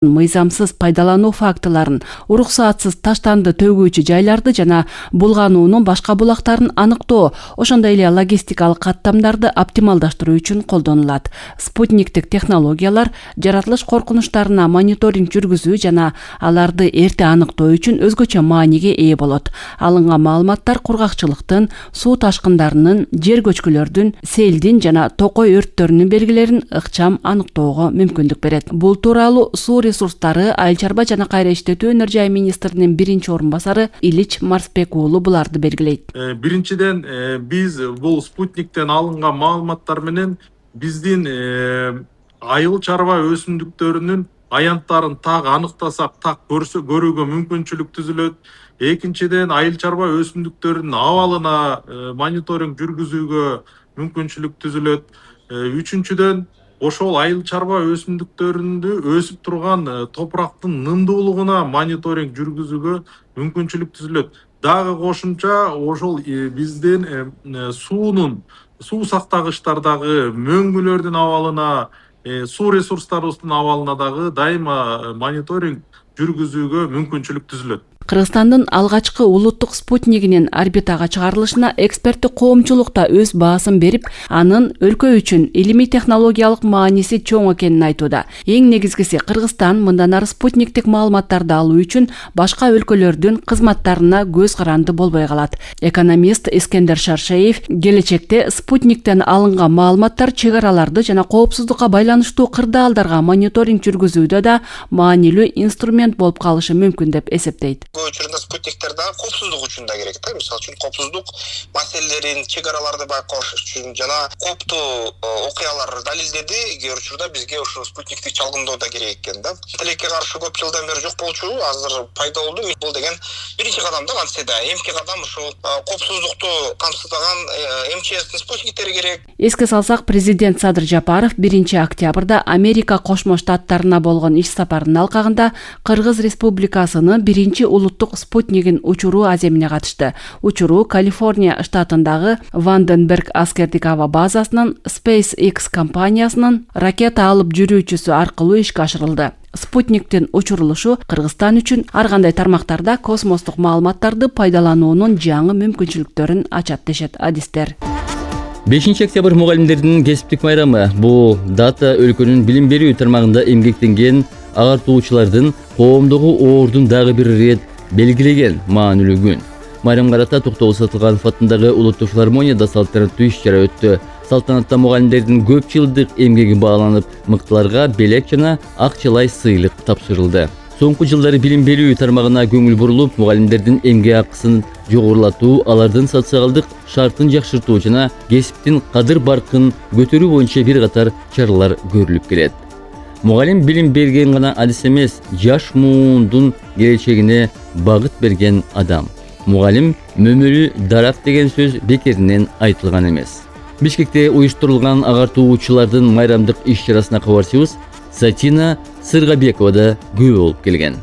мыйзамсыз пайдалануу фактыларын, уруксаатсыз таштанды төгүүчү жайларды жана булгануунун башка булактарын аныктоо, ошондой эле логистикалык каттамдарды оптималдаштыруу үчүн колдонулат. Спутниктик технологиялар жаратылыш коркунучтарына мониторинг жүргүзүү жана аларды эрте аныктоо үчүн өзгөчө мааниге ээ болот. Алынган маалыматтар кургакчылыктын, суу ташкындарынын, жер көчкүлөрдүн, селдин жана токой өрттөрүнүн белгилерин ыкчам аныктоого мүмкүндүк берет. Бул тууралуу суу ресурстары, айыл чарба жана кайра иштетүү өнөр жай министринин биринчи орун басары Илич Марсбек уулу буларды белгилейт. Биринчиден биз бул спутниктен алынган маалыматтар менен биздин айыл чарба өсүмдүктөрүнүн аянттарын так аныктасак, так көрүүгө мүмкүнчүлүк түзүлөт. Экинчиден айыл чарба өсүмдүктөрүнүн абалына мониторинг жүргүзүүгө мүмкүнчүлүк түзүлөт. Үчүнчүдөн ошол айыл чарба өсүмдүктөрүндө өсүп турган топурактын нымдуулугуна мониторинг жүргүзүүгө мүмкүнчүлүк түзүлөт. Дагы кошумча ошол биздин суу сактагычтардагы мөңгүлөрдүн абалына, суу ресурстарыбыздын абалына дагы дайыма мониторинг жүргүзүүгө мүмкүнчүлүк түзүлөт. Кыргызстандын алгачкы улуттук спутнигинин орбитага чыгарылышына эксперттик коомчулук да өз баасын берип, анын өлкө үчүн илимий технологиялык мааниси чоң экенин айтууда. Эң негизгиси, Кыргызстан мындан ары спутниктик маалыматтарды алуу үчүн башка өлкөлөрдүн кызматтарына көз каранды болбой калат. Экономист Искендер Шаршеев келечекте спутниктен алынган маалыматтар чек араларды жана коопсуздукка байланыштуу кырдаалдарга мониторинг жүргүзүүдө да маанилүү инструмент болуп калышы мүмкүн деп эсептейт. Учурунда спутниктер да коопсуздук үчүн да керек да. Мисалы үчүн коопсуздук маселелерин, чек араларды байкош үчүн жана коптуу окуялар далилдеди. Кээ бир учурда бизге ошо спутниктик чалгындоо да керек экен да. Тилекке каршы көп жылдан бери жок болчу, азыр пайда болду. Бул деген биринчи кадам да кантсе да. Эмки кадам ошол коопсуздукту камсыздаган МЧСтин спутниктери керек. Эске салсак, президент Садыр Жапаров 1-октябрда Америка Кошмо Штаттарына болгон иш сапарынын алкагында Кыргыз Республикасынын биринчи улуттук спутнигин учуруу аземине катышты. Учуруу Калифорния штатындагы Ванденберг аскердик аба базасынын SpaceX компаниясынын ракета алып жүрүүчүсү аркылуу ишке ашырылды. Спутниктин учурулушу Кыргызстан үчүн ар кандай тармактарда космостук маалыматтарды пайдалануунун жаңы мүмкүнчүлүктөрүн ачат дешет адистер. 5-октябрь мугалимдердин кесиптик майрамы. Бул дата өлкөнүн билим берүү тармагында эмгектенген агартуучулардын коомдогу оордун дагы бир ирет белгилеген маанилүү күн. Майрамга карата Токтогул Сатылганов атындагы Улуттук филармонияда салтанаттуу иш-чара өттү. Салтанатта мугалимдердин көп жылдык эмгеги бааланып, мыктыларга белек жана акчалай сыйлык тапшырылды. Соңку жылдары билим берүү тармагына көңүл бурулуп, мугалимдердин эмгек акысын жогорулатуу, алардын социалдык шартын жакшыртуу жана кесиптин кадыр-баркын көтөрүү боюнча бир катар чаралар көрүлүп келет. Мугалим билим берген гана адис эмес, жаш муундун келечегине багыт берген адам. Мугалим мөмөлү дарак деген сөз бекеринен айтылган эмес. Бишкекте уюштурулган агартуучулардын майрамдык иш-чарасына кабарчыбыз Сатина Сыргабекова да күбө болуп келген.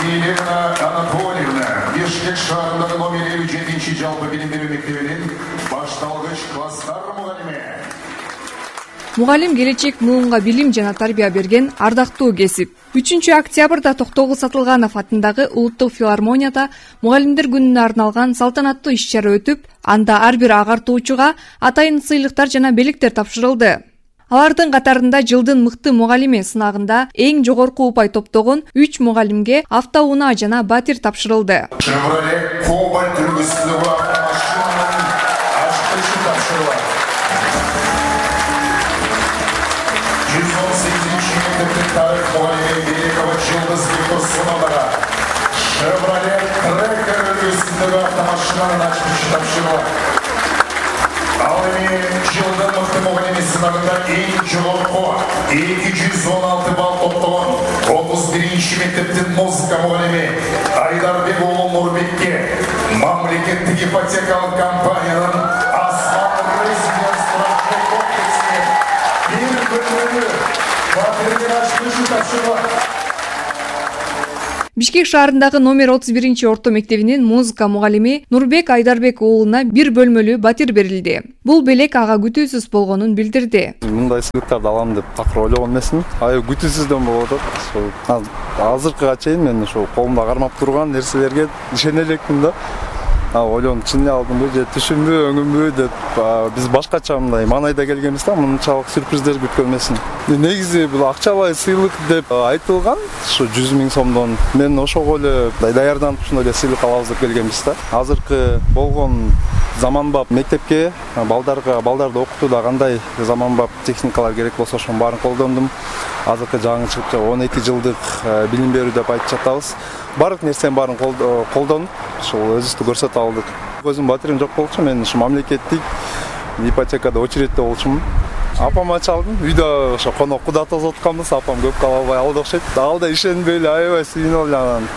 Елена Анатольевна, Бишкек шаарындагы номер 57 жалпы билим берүү мектебинин башталгыч класстар мугалими. Мугалим келечек муунга билим жана тарбия берген ардактуу кесип. 3-октябрда Токтогул Сатылганов атындагы Улуттук филармонияда мугалимдер күнүнө арналган салтанаттуу иш-чара өтүп, анда ар бир агартуучуга атайын сыйлыктар жана белектер тапшырылды. Алардын катарында жылдын мыкты мугалими сынагында эң жогорку упай топтогон 3 мугалимге автоунаа жана батир тапшырылды. Chevrolet Cobalt үлгүсүндөгү машинанын ачкычы тапшырылат. 118-ci мектептин тарых мугалими Великова Жылдыз Викторсоновага Chevrolet Tracker үлгүсүндөгү автомашинанын ачкычы тапшырылат. Ал эми жылдын мыкты мугалими сынагында эң жогорку 216 балл топтогон 31-ci мектептин музыка мугалими Айдарбек уулу Нурбекке мамлекеттик ипотекалык компаниянын Асман резиденциялык комплексине бир бөлмөлүү батирдин ачкычы тапшырылат. Бишкек шаарындагы номер 31 орто мектебинин музыка мугалими Нурбек Айдарбек уулуна бир бөлмөлүү батир берилди. Бул белек ага күтүүсүз болгонун билдирди. Мындай сыйлыктарды алам деп такыр ойлогон эмесмин. Күтүүсүздөн болуп атат. Азыркыга чейин мен ошо колумда кармап турган нерселерге ишене элекмин да. Ойлоном, чын алдымбы же түшүмбү, өңүмбү деп биз башкача мындай маанайда келгенбиз да, мынчалык сюрприздер күткөн эмесмин. Негизи бул акчалай сыйлык деп айтылган, ушу 100 000 сомдон. Мен ошого эле даярданып ушундай эле сыйлык алабыз деп келгенбиз да. Азыркы болгон заманбап мектепке балдарды окутууда кандай заманбап техникалар керек болсо ошонун баарын колдондум. Азыркы жаңы чыгып 12 жылдык билим берүү деп айтып жатабыз. Бардык нерсенин баарын колдонуп, ошол өзүбүздү көрсөтө алдык. Өзүм батирим жок болчу, мен ушу мамлекеттик ипотекада очередте болчумун. Апама чалдым, үйдө ошо конок куда тосуп атканбыз, апам көп кала албай алды окшойт. Ал да ишенбей эле аябай сүйүнүп эле анан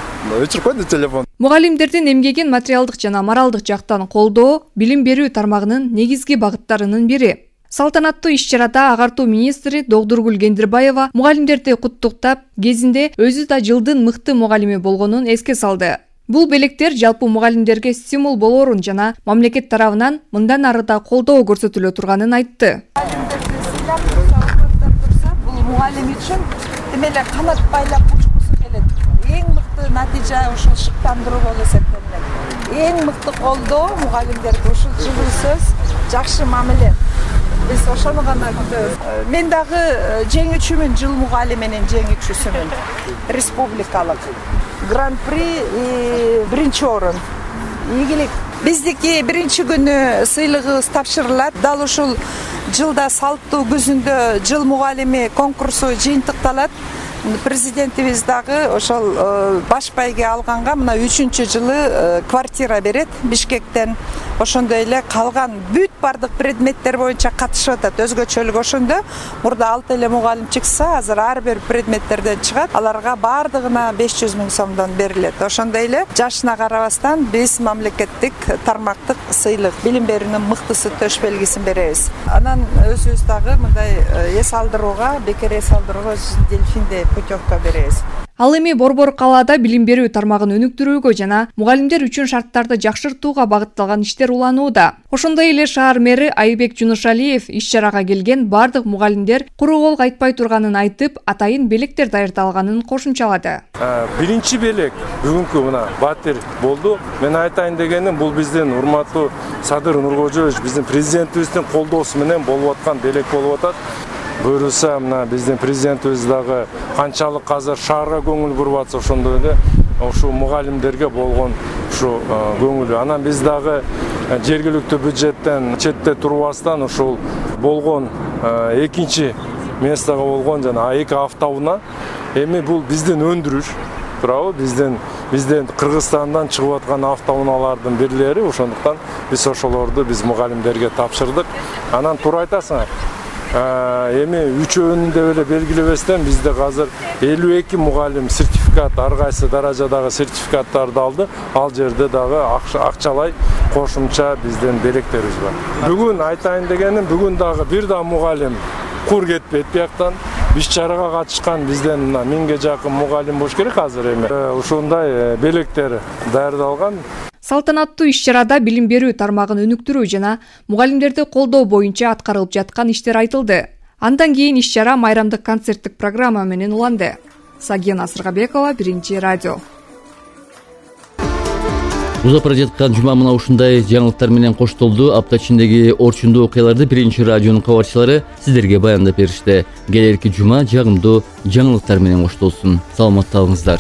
өчүрүп койду телефон. Мугалимдердин эмгегин материалдык жана моралдык жактан колдоо билим берүү тармагынын негизги багыттарынын бири. Салтанаттуу иш-чарада агартуу министри Догдургүл Кендирбаева мугалимдерди куттуктап, кезинде өзү да жылдын мыкты мугалими болгонун эске салды. Бул белектер жалпы мугалимдерге стимул болоорун жана мамлекет тарабынан мындан ары да колдоо көрсөтүлө турганын айтты. Мугалимдерди сыйлап турса, бул мугалим үчүн демеле канат байлап учкусу келет. Эң мыкты натыйжа ушул шыктандыруу болуп эсептелинет. Эң мыкты колдоо мугалимдерге ушул жылуу сөз, жакшы мамиле. Биз ошону гана күтөбүз. Мен дагы жеңүүчүмүн, жыл мугалиминин жеңүүчүсүмүн. Республикалык гран-при биринчи орун. Ийгилик. Биздики биринчи күнү сыйлыгыбыз тапшырылат. Дал ушул жылда салттуу күзүндө жыл мугалими конкурсу жыйынтыкталат. Президентибиз дагы ошол баш байге алганга мына 3-жылы квартира берет Бишкектен. Ошондой эле калган бүт бардык предметтер боюнча катышып атат. Өзгөчөлүк ошондо. Мурда 6 эле мугалим чыкса, азыр ар бир предметтерден чыгат. Аларга бардыгына 500 000 сомдон берилет. Ошондой эле жашына карабастан биз мамлекеттик тармактык сыйлык билим берүүнүн мыктысы төш белгисин беребиз. Анан өзүбүз дагы мындай эс алдырууга, бекер эс алдырууга дельфинде путевка беребиз. Ал эми Борбор калаада билим берүү тармагын өнүктүрүүгө жана мугалимдер үчүн шарттарды жакшыртууга багытталган иштер уланууда. Ошондой эле шаар мэри Айбек Жунушалиев иш-чарага келген бардык мугалимдер куру кол кайтпай турганын айтып, атайын белектер даярдалганын кошумчалады. Биринчи белек бүгүнкү мына батир болду. Мен айтайын дегеним, бул биздин урматтуу Садыр Нуркожоевич, биздин президентибиздин колдоосу менен болуп аткан белек болуп атат. Буюрса, мына биздин президентибиз дагы канчалык азыр шаарга көңүл буруп атса, ошондой эле ушу мугалимдерге болгон ушу көңүлү. Анан биз дагы жергиликтүү бюджеттен четте турбастан ушул болгон экинчи местого болгон жана А2 автоунаа эми бул биздин өндүрүш, туурабы? Бизден Кыргызстандан чыгып аткан автоунаалардын бирлери, ошондуктан биз ошолорду биз мугалимдерге тапшырдык. Анан туура айтасың. Эми үчөөнүн деп эле белгилебестен бизде азыр 52 мугалим сертификат, ар кайсы даражадагы сертификаттарды алды. Ал жерде дагы акчалай кошумча бизден белектерибиз бар. Бүгүн айтайын дегеним, бүгүн дагы бир да мугалим кур кетпейт бияктан. Иш-чарага катышкан бизден 1000ге жакын мугалим болуш керек азыр эми. Ушундай белектер даярдалган. Салтанаттуу иш-чарада билим берүү тармагын өнүктүрүү жана мугалимдерди колдоо боюнча аткарылып жаткан иштер айтылды. Андан кийин иш-чара майрамдык концерттик программа менен уланды. Сагена Асыргабекова, Биринчи радио. Узап бара жаткан жума мына ушундай жаңылыктар менен коштолду. Апта ичиндеги орчундуу окуяларды Биринчи радионун кабарчылары сиздерге баяндап беришти. Келерки жума жагымдуу жаңылыктар менен коштолсун. Саламатта калыңыздар.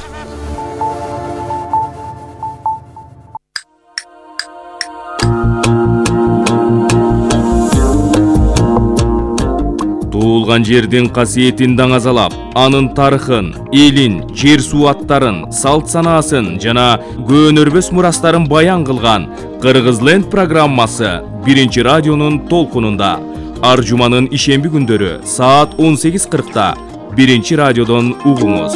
Туылган жердин касиетин даңазалап, анын тарыхын, элин, жер суу аттарын, салт санаасын жана көөнөрбөс мурастарын баян кылган Кыргызленд программасы Биринчи радионун толкунунда. Ар жуманын ишемби күндөрү саат 18:40 Биринчи радиодон угуңуз.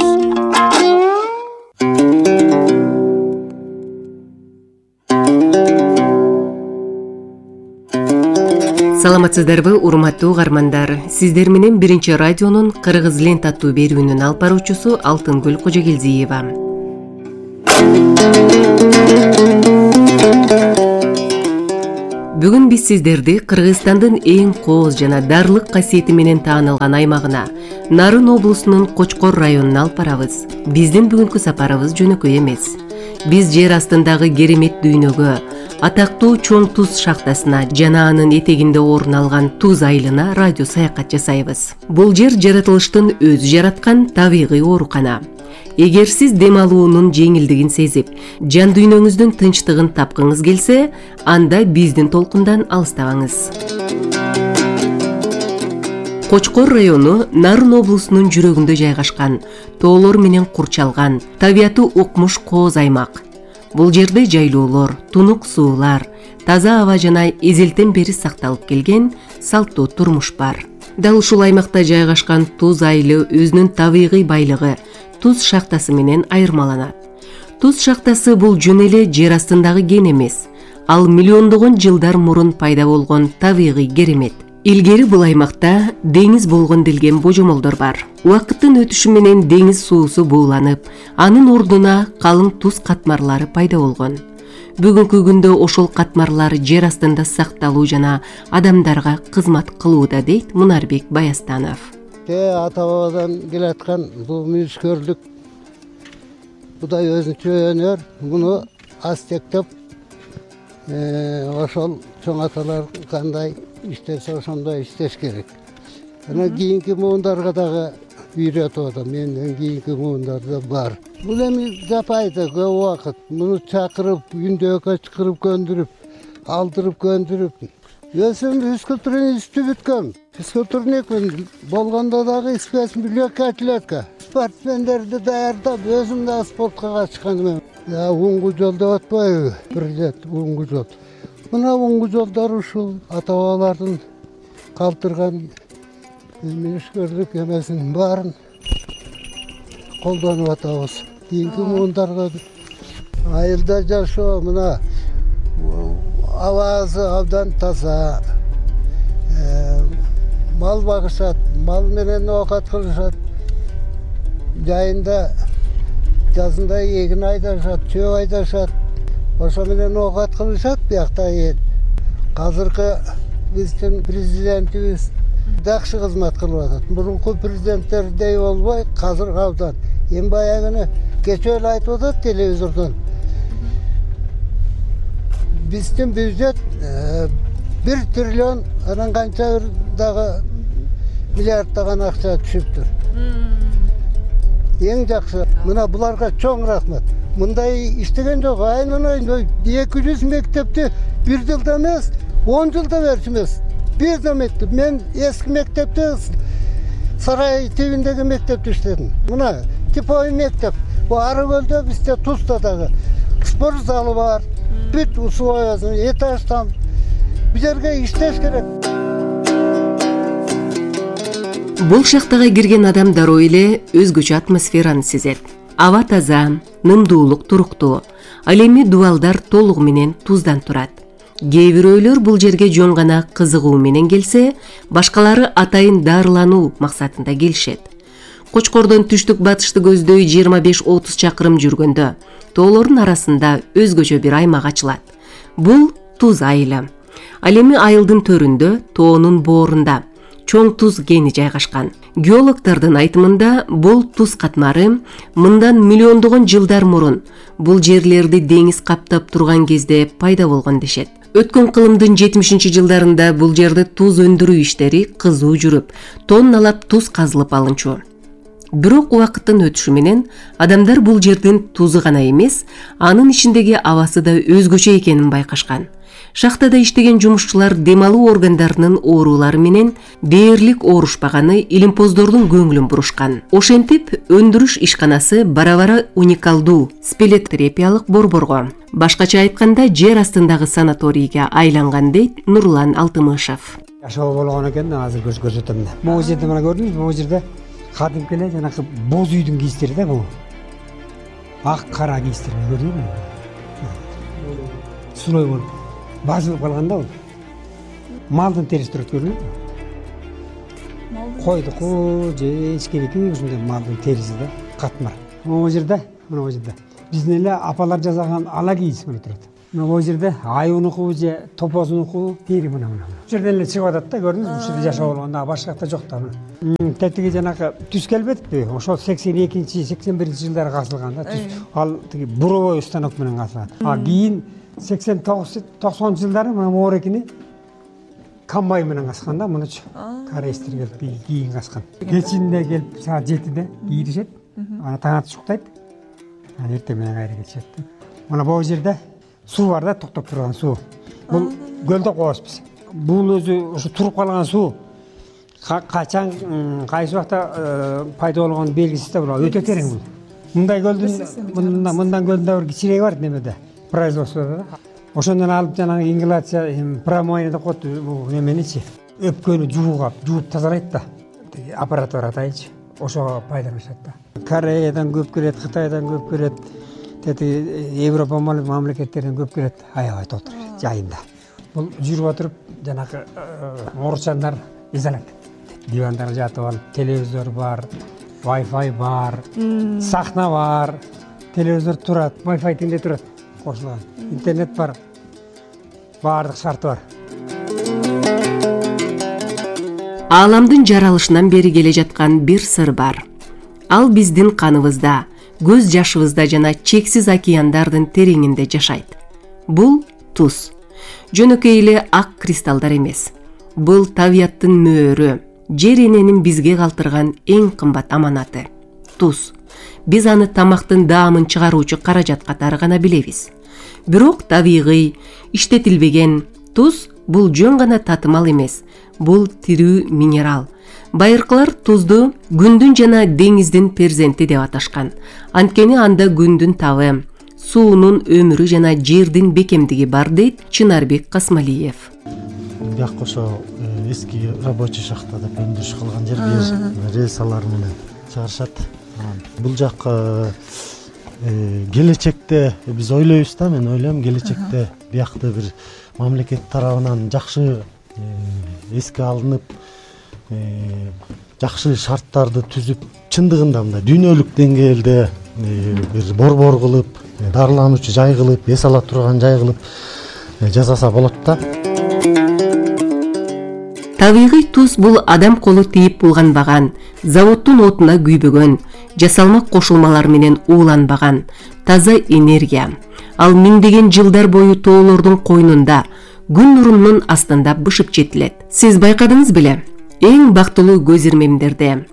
Саламатсыздарбы, урматтуу угармандар. Сиздер менен Биринчи радионун Кыргызленд аттуу берүүнүн алып баруучусу Алтынгүл Кожогелдиева. Бүгүн биз сиздерди Кыргызстандын эң кооз жана дарлык касиети менен таанылган аймагына, Нарын облусунун Кочкор районуна алып барабыз. Биздин бүгүнкү сапарыбыз жөнөкөй эмес. Биз жер астындагы керемет дүйнөгө, атактуу Чоң Туз шахтасына жана анын этегинде орун алган Туз айылына радио саякат жасайбыз. Бул жер жаратылыштын өзү жараткан табигый оорукана. Эгер сиз дем алуунун жеңилдигин сезип, жан дүйнөңүздүн тынчтыгын тапкыңыз келсе, анда биздин толкундан алыстабаңыз. Кочкор району Нарын облусунун жүрөгүндө жайгашкан, тоолор менен курчалган, табиаты укмуш кооз аймак. Бул жерде жайлоолор, тунук суулар, таза аба жана эзелтен бери сакталып келген салттуу турмуш бар. Дал ушул аймакта жайгашкан Туз айылы өзүнүн табигый байлыгы Туз шахтасы менен айырмаланат. Туз шахтасы бул жөн эле жер астындагы кен эмес, ал миллиондогон жылдар мурун пайда болгон табигый керемет. Илгери бул аймакта деңиз болгон делген божомолдор бар. Убакыттын өтүшү менен деңиз суусу бууланып, анын ордуна калың туз катмарлары пайда болгон. Бүгүнкү күндө ошол катмарлар жер астында сакталуу жана адамдарга кызмат кылууда, дейт Мунарбек Баястанов. Ата бабадан келаткан бул мүнүскөрлүк, будай өзүнчө өнөр, муну астектеп ошол чоң аталар кандай иштесе ошондой иштеш керек. Анан кийинки муундарга дагы үйрөтүп атам, менден кийинки муундарда бар. Бул эми жапайда көп убакыт муну чакырып, күндөгө чакырып көндүрүп, алдырып көндүрүп. Өзүм физкультурный институт бүткөм. Физкультурник болгондо дагы спецбиблиотека. Спортсмендерди даярдап, өзүм да спортко катышканмын. Уңгу жол деп атпайбы? Президент уңгу жол. Мына уңгу жолдор ушул ата-бабалардын калтырган мүнүскөрлүк эмесинин баарын колдонуп атабыз. Кийинки муундарга айылда жашоо мына абазы абдан таза. Мал багышат, мал менен оокат кылышат. Жайында жазында эгин айдашат, чөп айдашат. Ошо менен оокат кылышат биякта эл. Азыркы биздин президентибиз жакшы кызмат кылып атат. Мурунку президенттердей болбой, азыр абдан. Эми баягыны кечээ эле айтып атат телевизордон. Биздин бюджет 1 триллион анан канча дагы миллиарддаган акча түшүптүр. Эң жакшы. Мына буларга чоң рахмат. Мындай иштеген жок. Айнын 200 мектепти бир жылда эмес, 10 жылда беришмес. Бир да мектеп. Мен эски мектепте сарай тибиндеги мектепте иштедим. Мына типовой мектеп. Бу ары көлдө бизде Тузда дагы спорт залы бар. Бүт условиясын этаждан бул жерге иштеш керек. Бул шахтага кирген адам дароо эле өзгөчө атмосфераны сезет. Аба таза, нымдуулук туруктуу. Ал эми дубалдар толугу менен туздан турат. Кээ бирөөлөр бул жерге жөн гана кызыгуу менен келсе, башкалары атайын дарылануу максатында келишет. Кочкордон түштүк батышты көздөй 25-30 чакырым жүргөндө тоолордун арасында өзгөчө бир аймак ачылат. Бул Туз айылы. Ал эми айылдын төрүндө, тоонун боорунда Чоң Туз кени жайгашкан. Геологдордун айтымында бул туз катмары мындан миллиондогон жылдар мурун бул жерлерди деңиз каптап турган кезде пайда болгон дешет. Өткөн кылымдын 70-жылдарында бул жерде туз өндүрүү иштери кызуу жүрүп, тонналап туз казылып алынчу. Бирок убакыттын өтүшү менен адамдар бул жердин тузу гана эмес, анын ичиндеги абасы да өзгөчө экенин байкашкан. Шахтада иштеген жумушчулар дем алуу органдарынын оорулары менен дээрлик оорушпаганы илимпоздордун көңүлүн бурушкан. Ошентип, өндүрүш ишканасы бара-бара уникалдуу спелеотерапиялык борборго, башкача айтканда жер астындагы санаторийге айланган, дейт Нурлан Алтымышев. Жашоо болгон экен, азыр көрсөтөм. Бул жерде мына көрдүңүзбү, бул жерде кадимки эле жанакы боз үйдүн кийиштери да бул. Ак кара кийиштер көрдүңүзбү? Сулой болуп базылып калганда бул. Малдын териси турат, көрдүңүзбү? Койдуку же эчкеники ушундай малдын териси да катмар. Могу жерде, мына бул жерде биздин эле апалар жасаган ала кийиз мына турат. Мына бул жерде айуунуку же топозунуку тери мына. Бул жерден эле чыгып атат да, көрдүңүзбү? Бул жерде жашоо болгондо башка жакта жок да. Тетиги жанакы түз келбедикпи? Ошол 82-81 жылдары касылган да түз. Ал тиги буровой станок менен касылган. Кийин 89-90 жылдары мына моорекини комбайн менен каскан да, мынычы. Корейстер келип кийин каскан. Кечинде келип саат 7-де кийиришет. Ана таң атып шуктайт. Эртең менен кайра кетишет. Мына бул жерде суу бар да, токтоп турган суу. Бул көлдө коебуз биз. Бул өзү ошо туруп калган суу качан кайсы убакта пайда болгон белгисиз да, бул өтө терең бул. Мындай көлдүн мындан көлдүндө бир кичиреги бар немеде, производстводо да. Ошондон алып жанагы ингалация промоина деп коет бул неменичи. Өпкөнү жууп тазалайт да. Аппарат бар атайчы. Ошого пайдаланышат да. Кореядан көп келет, Кытайдан көп келет, Европа мамлекеттеринен көп келет. Аябай толтур жайында. Бул жүрүп отуруп жанагы орусчандар изалат. Дивандар жатып алып, телевизор бар, Wi-Fi бар, сахна бар, телевизор турат, Wi-Fi тинде турат, кошулган. Интернет бар. Бардык шарты бар. Ааламдын жаралышынан бери келе жаткан бир сыр бар. Ал биздин каныбызда, көз жашыбызда жана чексиз океандардын тереңинде жашайт. Бул туз. Жөнөкөй эле ак кристаллдар эмес. Бул табияттын мөөрү, жер эненин бизге калтырган эң кымбат аманаты. Туз. Биз аны тамактын даамын чыгаруучу каражат катары гана билебиз. Бирок табигый, иштетилбеген туз бул жөн гана татымал эмес. Бул тирүү минерал. Байыркылар тузду күндүн жана деңиздин перзенти деп аташкан. Анткени анда күндүн табы, суунун өмүрү жана жердин бекемдиги бар дейт Чынарбек Касмалиев. Бияк ошо эски рабочий шахта деп өндүрүш кылган жер рельсалар менен чыгарышат. Бул жак келечекте биз ойлойбуз да, мен ойлойм келечекте биякты бир мамлекет тарабынан жакшы эске алынып, жакшы шарттарды түзүп, чындыгында мындай дүйнөлүк деңгээлде бир борбор кылып, дарылануучу жай кылып, эс ала турган жай кылып жасаса болот да. Табигый туз бул адам колу тийип булганбаган, заводдун отуна күйбөгөн, жасалма кошулмалар менен ууланбаган, таза энергия. Ал миңдеген жылдар бою тоолордун койнунда, күн нурунун астында бышып жетилет. Сиз байкадыңыз беле? Эң бактылуу көз ирмемдерде,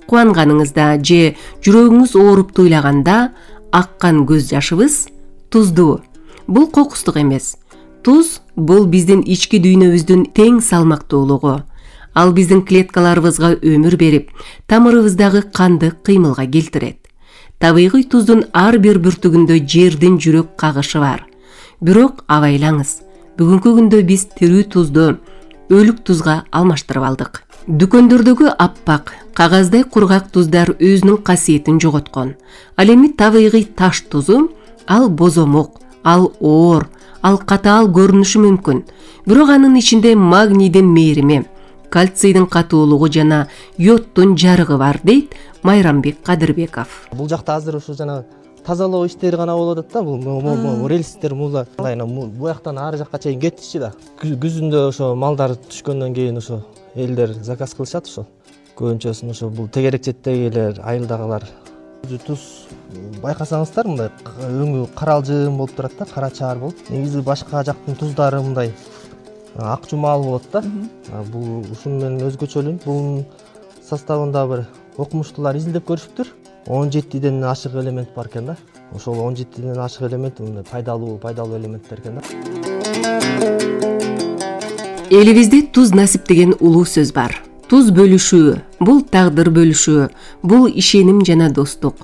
кубанганыңызда же жүрөгүңүз ооруп туйлаганда аккан көз жашыбыз туздуу. Бул кокустук эмес. Туз бул биздин ички дүйнөбүздүн тең салмактуулугу. Ал биздин клеткаларыбызга өмүр берип, тамырыбыздагы канды кыймылга келтирет. Табигый туздун ар бир бүртүгүндө жердин жүрөк кагышы бар. Бирок абайлаңыз, бүгүнкү күндө биз тирүү тузду өлүк тузга алмаштырып алдык. Дүкөндөрдөгү аппак, кагаздай кургак туздар өзүнүн касиетин жоготкон. Ал эми табигый таш тузу, ал бозомок, ал оор, ал катаал көрүнүшү мүмкүн. Бирок анын ичинде магнийдин мээрими, кальцийдин катуулугу жана йодтун жарыгы бар дейт Майрамбек Кадырбеков. Бул жакта азыр ушу жана тазалоо иштери гана болуп атат да, бул рельстер мула бу жактан ары жакка чейин кетишчи да. Күзүндө ошо малдар түшкөндөн кийин ошо элдер заказ кылышат ошо. Көбүнчөсүн ошо бул тегерек четтегилер, айылдагылар. Туз байкасаңыздар мындай өңү каралжың болуп турат да, кара чаар болуп. Негизи башка жактын туздары мындай ак жумал болот да. Бул ушун менен өзгөчөлүн. Бул составында бир окумуштуулар изилдеп көрүшүптүр. 17ден ашык элемент бар экен да. Ошол 17ден ашык элемент мындай пайдалуу элементтер экен да. Элибизде туз насип деген улуу сөз бар. Туз бөлүшүү, бул тагдыр бөлүшүү, бул ишеним жана достук.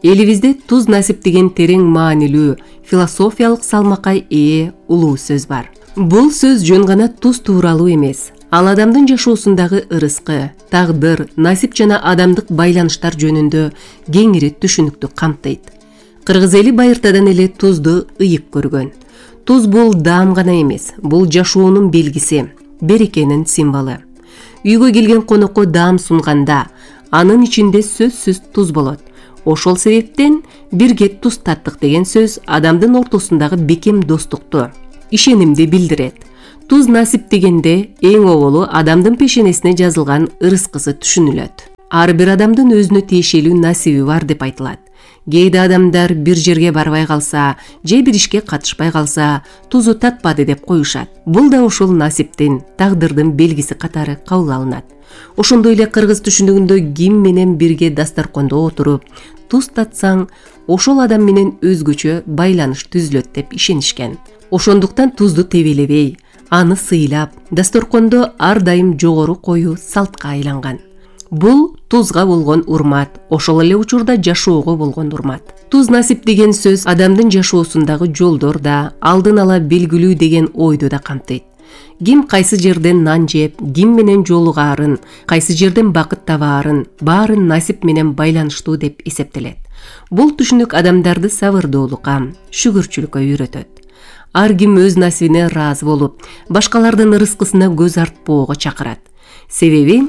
Элибизде туз насип деген терең маанилүү, философиялык салмакка ээ улуу сөз бар. Бул сөз жөн гана туз тууралуу эмес. Ал адамдын жашоосундагы ырыскы, тагдыр, насип жана адамдык байланыштар жөнүндө кеңири түшүнүктү камтыйт. Кыргыз эли байыртадан эле тузду ыйык көргөн. Туз бул даам гана эмес, бул жашоонун белгиси, берекенин символу. Үйгө келген конокко даам сунганда, анын ичинде сөзсүз туз болот. Ошол себептен бирге туз таттык деген сөз адамдын ортосундагы бекем достукту, ишенимди билдирет. Туз насип дегенде эң оболу адамдын пешенесине жазылган ырыскысы түшүнүлөт. Ар бир адамдын өзүнө тиешелүү насиби бар деп айтылат. Кээде адамдар бир жерге барбай калса же бир ишке катышпай калса тузу татпады деп коюшат. Бул да ошол насиптин, тагдырдын белгиси катары кабыл алынат. Ошондой эле кыргыз түшүнүгүндө ким менен бирге дасторкондо отуруп туз татсаң, ошол адам менен өзгөчө байланыш түзүлөт деп ишенишкен. Ошондуктан тузду тебелебей, аны сыйлап, дасторкондо ар дайым жогору коюу салтка айланган. Бул тузга болгон урмат, ошол эле учурда жашоого болгон урмат. Туз насип деген сөз адамдын жашоосундагы жолдор да, алдын ала белгилүү деген ойду да камтыйт. Ким кайсы жерден нан жеп, ким менен жолугаарын, кайсы жерден бакыт табаарын, баарын насип менен байланыштуу деп эсептелет. Бул түшүнүк адамдарды сабырдуулукка, шүгүрчүлүккө үйрөтөт. Ар ким өз насибине ыраазы болуп, башкалардын ырыскысына көз артпоого чакырат. Себеби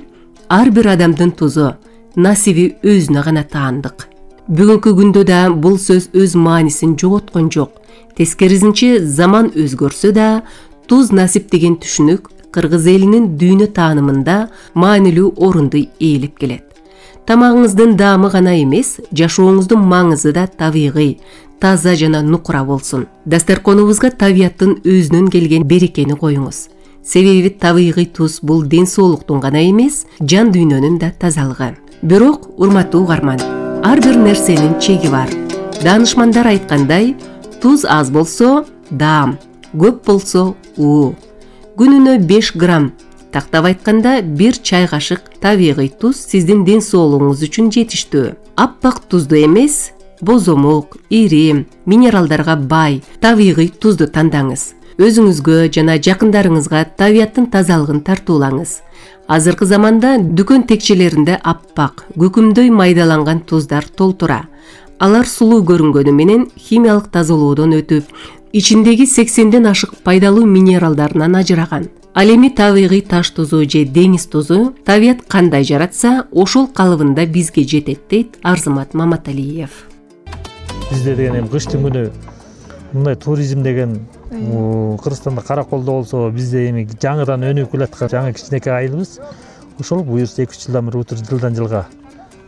ар бир адамдын тузу, насиби өзүнө гана таандык. Бүгүнкү күндө да бул сөз өз маанисин жоготкон жок. Тескерисинче заман өзгөрсө да, туз насип деген түшүнүк кыргыз элинин дүйнө таанымында маанилүү орунду ээлеп келет. Тамагыңыздын даамы гана эмес, жашооңуздун маңызы да табигый, таза жана нукура болсун. Дасторконубузга табияттын өзүнөн келген берекени коюңуз. Себеби табигый туз бул ден соолуктун гана эмес, жан дүйнөнүн да тазалыгы. Бирок, урматтуу угарман, ар бир нерсенин чеги бар. Даанышмандар айткандай, туз аз болсо даам, көп болсо уу. Күнүнө 5 грамм, тактап айтканда 1 чай кашык табигый туз сиздин ден соолугуңуз үчүн жетиштүү. Аппак тузду эмес, бозомок, ири, минералдарга бай, табигый тузду тандаңыз. Өзүңүзгө жана жакындарыңызга табияттын тазалыгын тартуулаңыз. Азыркы заманда дүкөн текчелеринде аппак, көкүмдөй майдаланган туздар толтура. Алар сулуу көрүнгөнү менен химиялык тазалоодон өтүп, ичиндеги 80ден ашык пайдалуу минералдарынан ажыраган. Ал эми табигый таш тузу же деңиз тузу табият кандай жаратса, ошол калыбында бизге жетет дейт Арзымат Маматалиев. Бизде деген эми кыштын күнү мындай туризм деген Кыргызстанда Караколдо болсо, бизде эми жаңыдан өнүгүп келаткан жаңы кичинекей айылыбыз. Ошол буюрса 2-3 жылдан бери утур жылдан жылга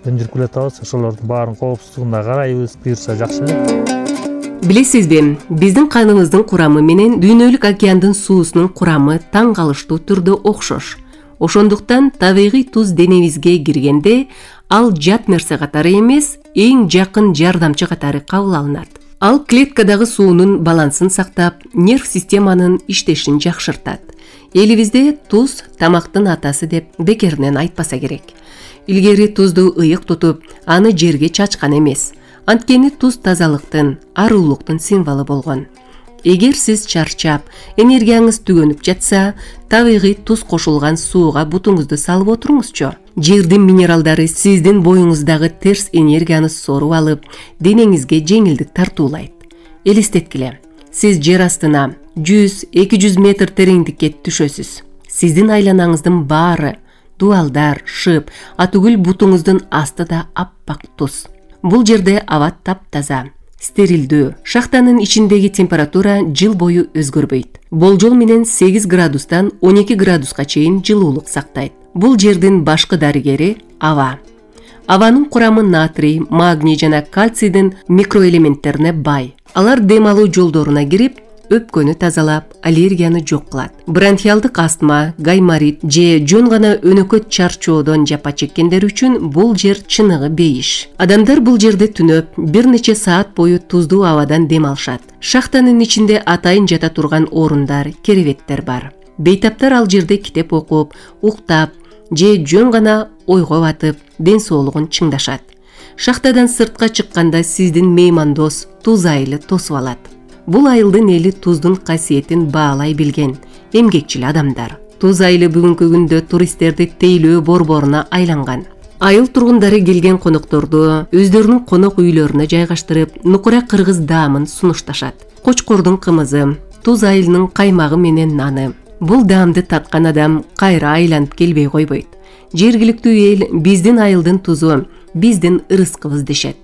өндүрүп келатабыз. Ошолордун баарын коопсуздугуна карайбыз, буюрса жакшы эле. Билесизби, биздин каныбыздын курамы менен дүйнөлүк океандын суусунун курамы таң калыштуу түрдө окшош. Ошондуктан табигый туз денебизге киргенде, ал жат нерсе катары эмес, эң жакын жардамчы катары кабыл алынат. Ал клеткадагы суунун балансын сактап, нерв системанын иштешин жакшыртат. Элибизде туз тамактын атасы деп бекеринен айтпаса керек. Илгери тузду ыйык тутуп, аны жерге чачкан эмес. Анткени туз тазалыктын, аруулуктун символу болгон. Эгер сиз чарчап, энергияңыз түгөнүп жатса, табигый туз кошулган сууга бутуңузду салып отуруңузчу. Жердин минералдары сиздин боюңуздагы терс энергияны соруп алып, денеңизге жеңилдик тартуулайт. Элестеткиле, сиз жер астына 100-200 метр тереңдикке түшөсүз. Сиздин айланаңыздын баары, дуалдар, шып, атүгүл бутуңуздун асты да аппак туз. Бул жерде аба таптаза, стерилдүү. Шахтанын ичиндеги температура жыл бою өзгөрбөйт. Болжол менен 8 градустан 12 градуска чейин жылуулук сактайт. Бул жердин башкы дарыгери аба. Абанын курамы натрий, магний жана кальцийдин микроэлементтерине бай. Алар дем алуу жолдоруна кирип, өпкөнү тазалап, аллергияны жок кылат. Бронхиалдык астма, гайморит же жөн гана өнөкөт чарчоодон жапа чеккендер үчүн бул жер чыныгы бейиш. Адамдар бул жерде түнөп, бир нече саат бою туздуу абадан дем алышат. Шахтанын ичинде атайын жата турган орундар, керебеттер бар. Бейтаптар ал жерде китеп окуп, уктап же жөн гана ойго батып, ден соолугун чыңдашат. Шахтадан сыртка чыкканда сиздин меймандос туз айылы тосуп алат. Бул айылдын эли туздун касиетин баалай билген эмгекчил адамдар. Туз айылы бүгүнкү күндө туристтерди тейлөө борборуна айланган. Айыл тургундары келген конокторду өздөрүнүн конок үйлөрүнө жайгаштырып, нукура кыргыз даамын сунушташат. Кочкордун кымызы, туз айылынын каймагы менен наны. Бул даамды таткан адам кайра айланып келбей койбойт. Жергиликтүү эл биздин айылдын тузу, биздин ырыскыбыз дешет.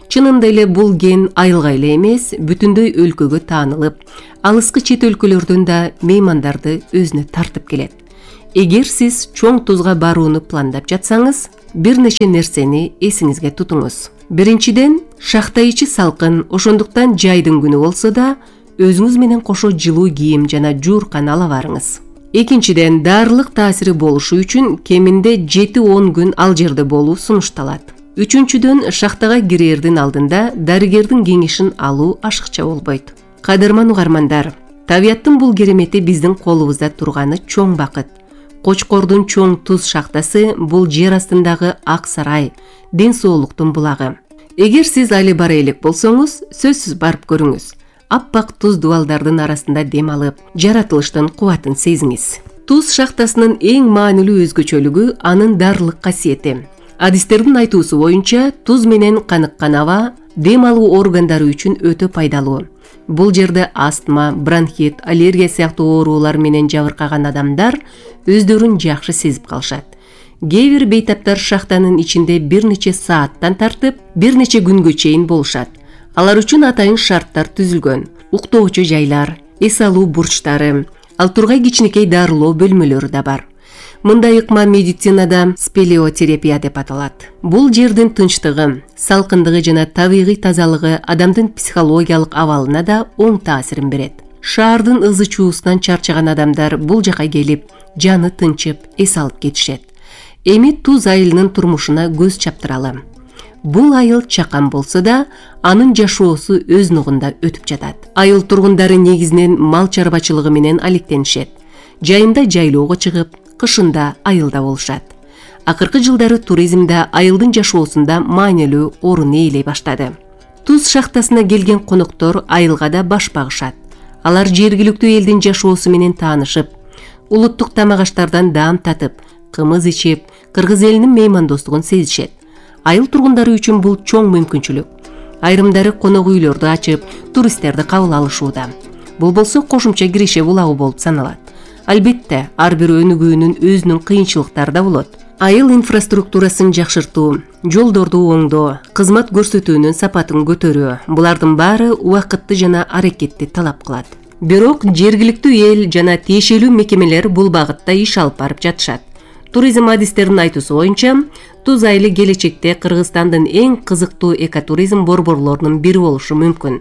Чынында эле бул ген айылга эле эмес, бүтүндөй өлкөгө таанылып, алыскы чет өлкөлөрдөн да меймандарды өзүнө тартып келет. Эгер сиз чоң тузга барууну пландап жатсаңыз, бир нече нерсени эсиңизге тутуңуз. Биринчиден, шахта ичи салкын, ошондуктан жайдын күнү болсо да өзүңүз менен кошо жылуу кийим жана жууркан ала барыңыз. Экинчиден, дарылык таасири болушу үчүн кеминде 7-10 күн ал жерде болуу сунушталат. Үчүнчүдөн, шахтага кирердин алдында дарыгердин кеңешин алуу ашыкча болбойт. Кадырман угармандар, табияттын бул керемети биздин колубузда турганы чоң бакыт. Кочкордун чоң туз шахтасы бул жер астындагы ак сарай, ден соолуктун булагы. Эгер сиз али бара элек болсоңуз, сөзсүз барып көрүңүз. Аппак туз дубалдардын арасында дем алып, жаратылыштын кубатын сезиңиз. Туз шахтасынын эң маанилүү өзгөчөлүгү анын дарылык касиети. Адистердин айтуусу боюнча, туз менен каныккан аба дем алуу органдары үчүн өтө пайдалуу. Бул жерде астма, бронхит, аллергия сыяктуу оорулар менен жабыркаган адамдар өздөрүн жакшы сезип калышат. Кээ бир бейтаптар шахтанын ичинде бир нече сааттан тартып, бир нече күнгө чейин болушат. Алар үчүн атайын шарттар түзүлгөн. Уктоочу жайлар, эс алуу бурчтары, ал тургай кичинекей дарылоо бөлмөлөрү да бар. Мындай ыкма медицинада спелеотерапия деп аталат. Бул жердин тынчтыгы, салкындыгы жана табигый тазалыгы адамдын психологиялык абалына да оң таасирин берет. Шаардын ызы чуусунан чарчаган адамдар бул жака келип, жаны тынчып, эс алып кетишет. Эми туз айылынын турмушуна көз чаптыралы. Бул айыл чакан болсо да, анын жашоосу өз нугунда өтүп жатат. Айыл тургундары негизинен мал чарбачылыгы менен алектенишет. Жайында жайлоого чыгып, кышында айылда болушат. Акыркы жылдары туризмде айылдын жашоосунда маанилүү орун ээлей баштады. Туз шахтасына келген коноктор айылга да баш багышат. Алар жергиликтүү элдин жашоосу менен таанышып, улуттук тамак аштардан даам татып, кымыз ичип, кыргыз элинин меймандостугун сезишет. Айыл тургундары үчүн бул чоң мүмкүнчүлүк. Айрымдары конок үйлөрдү ачып, туристтерди кабыл алышууда. Бул болсо кошумча киреше булагы болуп саналат. Албетте, ар бир өнүгүүнүн өзүнүн кыйынчылыктары да болот. Айыл инфраструктурасын жакшыртуу, жолдорду оңдоо, кызмат көрсөтүүнүн сапатын көтөрүү, булардын баары убакытты жана аракетти талап кылат. Бирок жергиликтүү эл жана тиешелүү мекемелер бул багытта иш алып барып жатышат. Туризм адистеринин айтуусу боюнча, туз айылы келечекте Кыргызстандын эң кызыктуу экотуризм борборлорунун бири болушу мүмкүн.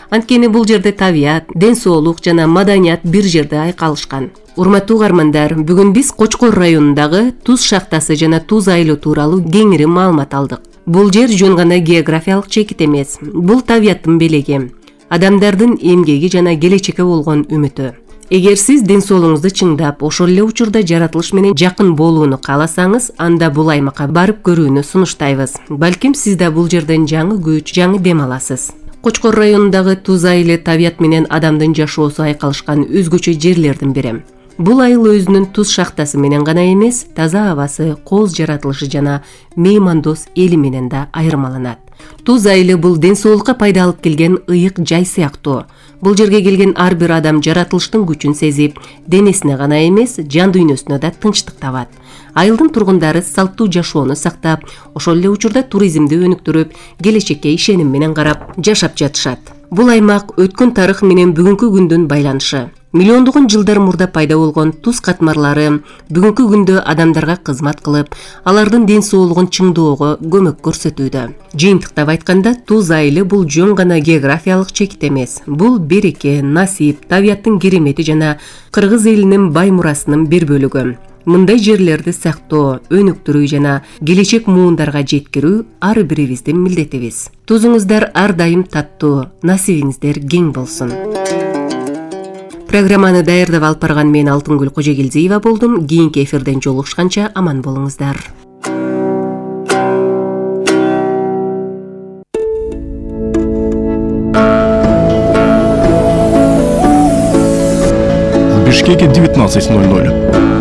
Анткени бул жерде табият, ден соолук жана маданият бир жерде айкалышкан. Урматтуу угармандар, бүгүн биз Кочкор районундагы туз шахтасы жана туз айылы тууралуу кеңири маалымат алдык. Бул жер жөн гана географиялык чекит эмес, бул табияттын белеги, адамдардын эмгеги жана келечекке болгон үмүтү. Эгер сиз ден соолугуңузду чыңдап, ошол эле учурда жаратылыш менен жакын болууну кааласаңыз, анда бул аймакка барып көрүүнү сунуштайбыз. Балким сиз да бул жерден жаңы күч, жаңы дем аласыз. Кочкор районундагы туз айылы табият менен адамдын жашоосу айкалышкан өзгөчө жерлердин бири. Бул айыл өзүнүн туз шахтасы менен гана эмес, таза абасы, кооз жаратылышы жана меймандос эли менен да айырмаланат. Туз айылы бул ден соолукка пайда алып келген ыйык жай сыяктуу. Бул жерге келген ар бир адам жаратылыштын күчүн сезип, денесине гана эмес, жан дүйнөсүнө да тынчтык табат. Айылдын тургундары салттуу жашоону сактап, ошол эле учурда туризмди өнүктүрүп, келечекке ишеним менен карап жашап жатышат. Бул аймак өткөн тарых менен бүгүнкү күндүн байланышы. Миллиондогон жылдар мурда пайда болгон туз катмарлары бүгүнкү күндө адамдарга кызмат кылып, алардын ден соолугун чыңдоого көмөк көрсөтүүдө. Жыйынтыктап айтканда, туз айылы бул жөн гана географиялык чекит эмес. Бул береке, насип, табияттын керемети жана кыргыз элинин бай мурасынын бир бөлүгү. Мындай жерлерди сактоо, өнүктүрүү жана келечек муундарга жеткирүү ар бирибиздин милдетибиз. Тузуңуздар ар дайым таттуу, насибиңиздер кең болсун. Программаны даярдап алып барган мен Алтынгүл Кожогелдиева болдум. Кийинки эфирден жолугушканча аман болуңуздар. В Бишкеке 19:00.